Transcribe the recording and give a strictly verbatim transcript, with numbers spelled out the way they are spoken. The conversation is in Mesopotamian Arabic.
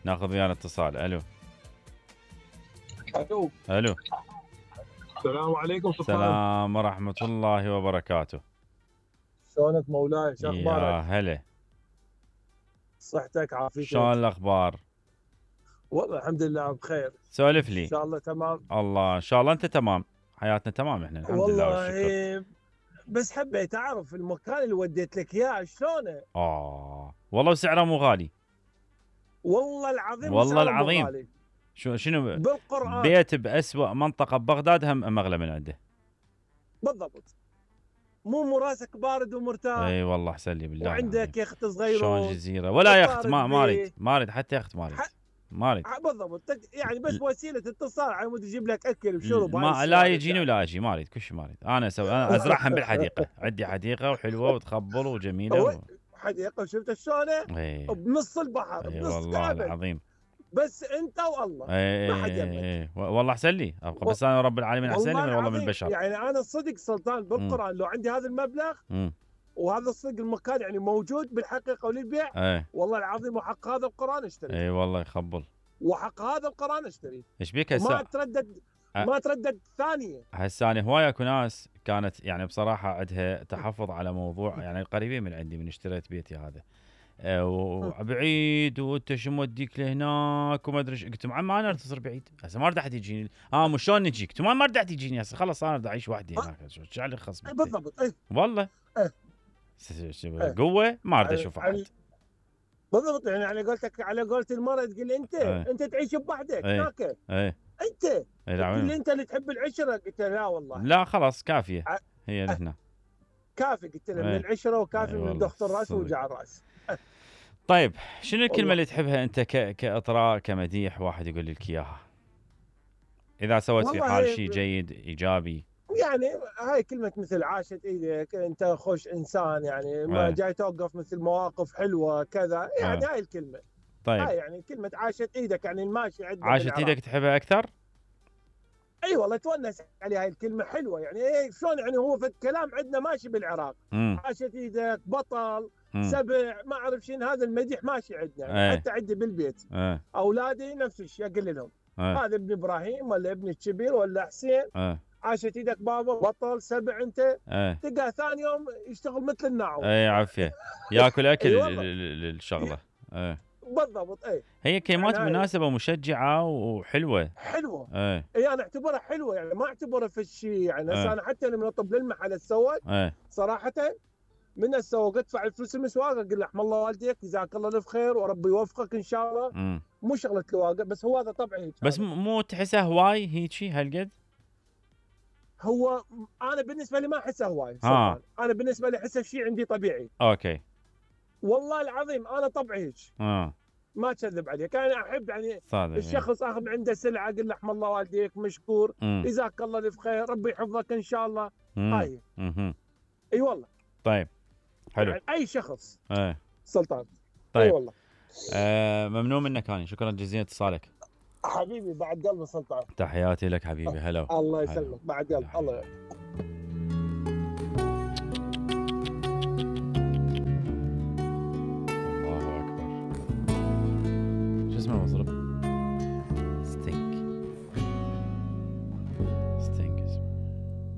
ناخذ ويانا اتصال. الو الو الو السلام عليكم سلطان. السلام ورحمة الله وبركاته. شلونك مولاي؟ شو يا اخبارك؟ هلا. صحتك عافيتك؟ شلون الاخبار؟ والله الحمد لله بخير. سولف لي. ان شاء الله تمام. الله ان شاء الله انت تمام. حياتنا تمام احنا الحمد لله والشكر. والله بس حبيت اعرف المكان اللي وديت لك اياه شلونه؟ اه والله وسعره مو غالي. والله العظيم والله سعره مو العظيم. غالي. شو شنو بالقرآن. بيت بأسوأ منطقة ببغداد هم مغلى من عنده. بالضبط. مو مو راسك بارد ومرتاح. اي والله احسن لي بالله. وعندك يخت صغيره. شلون جزيرة ولا يخت ما ما بيه. اريد ما اريد حتى يخت ما اريد. ما اريد. بالضبط يعني بس وسيله اتصال على مود يجيب لك اكل وشرب. ما لا يجيني ولا اجي ما اريد كل شيء ما اريد. انا اسوي انا ازرعهم بالحديقة. عندي حديقة وحلوة وتخبل وجميلة و... حديقة وشفت شلونه؟ ايه. بنص البحر ايه بنص والله كعبة. العظيم. بس انت والله ايه ما حد يمك. ايه والله احسن لي ابقى بس انا رب العالمين احسن لي من والله من البشر. يعني انا صدق سلطان بالقران لو عندي هذا المبلغ مم. وهذا الصدق المكان يعني موجود بالحقيقه وللبيع. ايه. والله العظيم وحق هذا القران اشتري. اي والله يخبل. وحق هذا القران اشتري. ايش بيك هسه؟ ما تردد أه. ما تردد ثانيه. هسه انا هواي اكو ناس كانت يعني بصراحه عندها تحفظ على موضوع يعني قريبين من عندي من اشتريت بيتي هذا أه وبعيد وانت شو موديك لهناك وما ادري ايش. قلت معم ما انا تصير بعيد هسه ما رد احد يجيني. اه مو شلون نجيك؟ قلت ما رد احد يجيني هسه خلص انا بدي اعيش وحدي هناك. شو علي خص بالضبط. ايه والله ايه قوه ما اريد اشوف احد. بالضبط يعني على قولتك على قولة المرأة تقول انت ايه. انت تعيش بوحدك هناك. ايه. ايه. انت تقول انت اللي تحب العشره. قلت لا والله لا خلاص كافيه ع... هي لهنا كافي. قلت له من العشره وكافي ايه من ضغط الراس ووجع الراس. طيب شنو الكلمه اللي تحبها انت ك... كاطراء كمديح واحد يقول لك اياها اذا سويت في حال شيء جيد ايجابي؟ يعني هاي كلمه مثل عاشت ايدك انت خوش انسان يعني ما ايه. جاي توقف مثل مواقف حلوه كذا يعني ايه. هاي الكلمه. طيب هاي يعني كلمه عاشت ايدك يعني الماشي عندنا عاشت ايدك تحبها اكثر؟ اي والله تونس عليها. هاي الكلمه حلوه يعني ايه شلون يعني هو في الكلام عندنا ماشي بالعراق. مم. عاشت ايدك بطل مم. سبع ما اعرف شنو هذا المديح ماشي عندنا يعني. ايه. حتى عندي بالبيت ايه. اولادي نفس الشيء اقول لهم ايه. هذا ابن ابراهيم ولا ابن الكبير ولا حسين. ايه. عاشت ايدك بابا بطل سبع انت. ايه. تلقاه ثاني يوم يشتغل مثل الناعوم. ايه عافيه ياكل اكل ايه الشغله. ايه بالضبط. اي هي كلمات يعني مناسبه مشجعه وحلوه. حلوه. ايه. اي انا اعتبرها حلوه يعني ما اعتبرها في الشيء يعني. هسه ايه. انا حتى لما اطب للمحل السواق ايه. صراحه من السواق ادفع الفلوس المسواق اقول له رحم الله والديك جزاك الله الف خير وربي يوفقك ان شاء الله. مم. مو شغله الواقع بس هو هذا طبعي هيك. بس مو تحسها هواي هيجي هالقد؟ هو انا بالنسبه لي ما احسه هواي. آه. انا بالنسبه لي احسه شيء عندي طبيعي. اوكي. والله العظيم انا طبعي هيك. اه ما اكذب عليك. انا احب يعني صادق. الشخص اخذ عنده سلعه اقول له رحم الله والديك مشكور جزاك الله الف خير ربي يحفظك ان شاء الله. مم. هاي مم. اي والله. طيب حلو يعني اي شخص. ايه سلطان. طيب اي والله. آه ممنون منك هاني. شكرا جزيلا اتصالك حبيبي بعد قلبي سلطان. تحياتي لك حبيبي. هلا الله يسلمك بعد قلب. الله يسلمك.